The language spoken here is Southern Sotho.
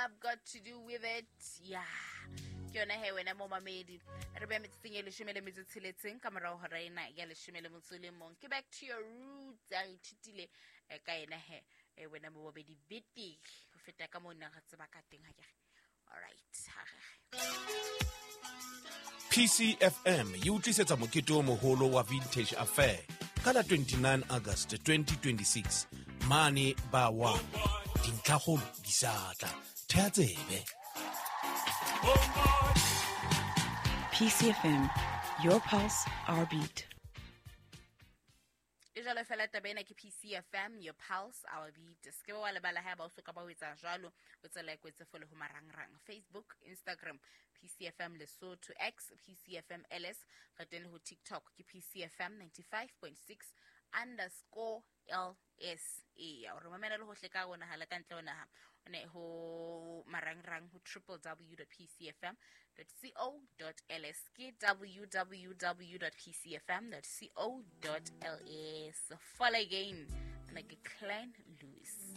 Love Got to Do With It? Yeah, ke yona he wena momamedi. Re beya metsotsong e 16 ka morago hora ena ya 11. Ke Back to Your Roots. A re ithutile ka ena he wena momamedi betere ho feta ka moo neng re tseba ka teng, ha ke re? Alright, ha re PCFM e utlisetsa mokete o moholo wa Vintage Affair ka la 29 August 2026 mane ba 1. Dintlhakgolo di sa tla. Thea tsebe. PCFM, your pulse, our beat. E jalo fela taba ena ke PCFM, your pulse, our beat. Se ke wa lebala ha ba o soka ba o etsa jwalo, o tsela e kwetse fole ho marangrang, Facebook, Instagram, PCFM Lesotho, X, PCFM LS. Re teng le ho TikTok ke PCFM 95.6_LS. Eya, o re mamela le hohle ka ho naha le ka ntle ho naha, o ne ho marangrang ho www.pcfm.co.ls, ke www.pcfm.co.ls. Follow again, ana ke Klein Louis.